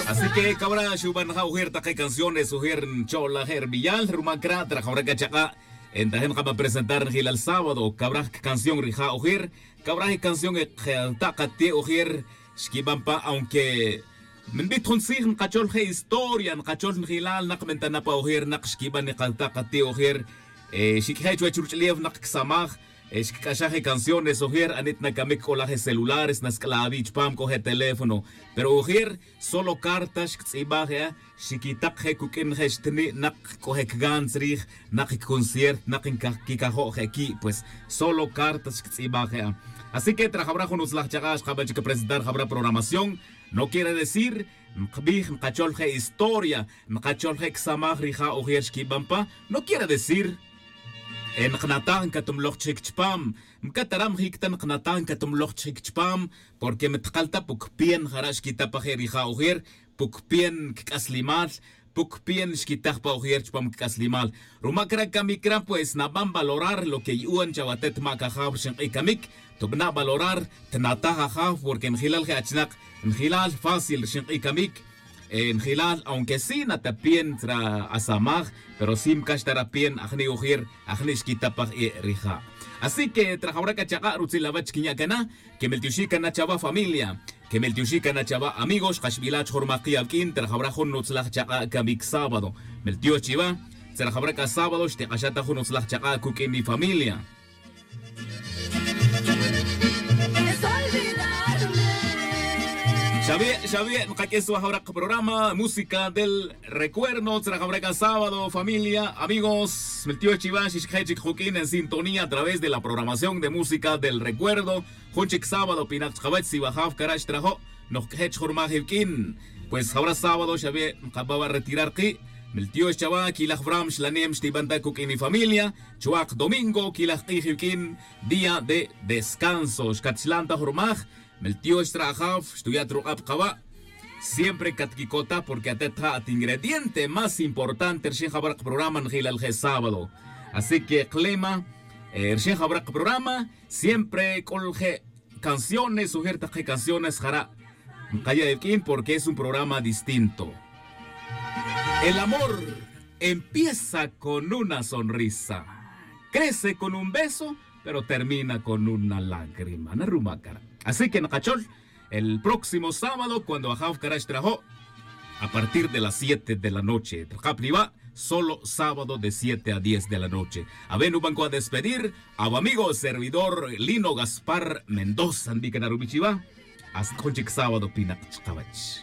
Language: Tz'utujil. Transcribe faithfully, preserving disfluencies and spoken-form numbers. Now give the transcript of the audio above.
Así que cawra xuban ja ujir take canciones ujir ncho'laje' ribiyal rumac ra' trajawra c'a chak'a'. Entajin kaba presentar njilal sábado cawra je' canción rija' ujir. Cawra je' canción e kta' kati' ujir xquiban pa aunque minbit jun tzij nkachol je' historia nkachol njilal nak bentana pa ujir nak xquiban ni kata' kati' ujir. Xiq'uije' chuwech ruch'ulef nak csamaj xquic'axaj e canciones ojir anit na camic c'o laj e celulares nasc'la' awi' chupam c'o je teléfono. Pero ojir solo carta xquitz'ibaj e a xiquitak je cuq'uin je xtni' nak c'o je cgan tzrij nak concierto nak quicajo' je qui' pues solo carta xquitz'ibaj e a. Así que trajawra jun utzlaj chak'a' xkaban chic presentar jawra programación. No quiere decir nkbij nkachol je historia nkachol je csamaj rija' ojir xquiban pa. No quiere decir nknataj ncatumloj chic chupam. Mcataram jic ta nknataj ncatumloj chic chupam. Porque mtkal ta puc pien jara' xquita pa je rija' ojir puc pien cic'aslimal. Puc pien xquitaj pa ojir chupam cic'aslimal. Rumac ra camic ra pues naban valorar lo que yu'un chawatet mac ajaw rxink'i camic. Tubana' valorar tnataj ajaw porque njilal je achnak njilal fácil rxink'i camic. Njilal aunque sí nata pien tzra asamaj pero sí mcax ta ra pien ajni' ojir ajni' xquita pa je rija'. Así que trajawra c'a chak'a' rutzil awech quinya' cana que meltioxi' cana chawa familia. Que meltioxi' cana chawa amigos xkaxbila' chujurmaj ki' awq'uin trajawra jun nutzlaj chak'a' camic sábado. Meltiox chiwa tzrajawra c'a sábado xtik'axa' ta jun utzlaj chak'a' cuq'uin ni familia. Xawi' xawi' nkaq'uis wa jawra kaprograma música del recuerdo tzra jawra c'a sábado familia amigos meltiox chiwa xixkje' chic juk'in en sintonía a través de la programación de música del recuerdo. Jun chic sábado pinak chkawech si wa jaw cara' xtrajo' nojk'je' chjurmaj iwk'in. Pues jawra sábado xawi' nkaba wa' retirar ki'. Meltiox chawa quilaj wram xlanem xtiban ta cuq'uin ifamilia. Chuwak domingo quilaj k'ij iwk'in día de descanso xcatxlan ta jurmaj. Meltiox tzra ajaw xtuya' truk'ab kawa'. Siempre catquicotaj porque atet ja' at ingrediente más importante rxin jawra kaprograma njilal je' sábado. Así que klema rxin jawra kaprograma siempre c'ul je' canciones ujir tak je' canciones jara' nkaya' iwk'in porque es un programa distinto. El amor empieza con una sonrisa, crece con un beso pero termina con una lágrima na rumac cara'. Así que nkachol el próximo sábado cuando ajaw cara' xtrajo' a partir de las siete de la noche trkab liwa'. Solo sábado de siete a diez de la noche. Awe' nuban cua despedir aw amigo servidor lino gaspar mendoza nbican arubi' chiwa. Hasta jun chic sábado pinak chkawech.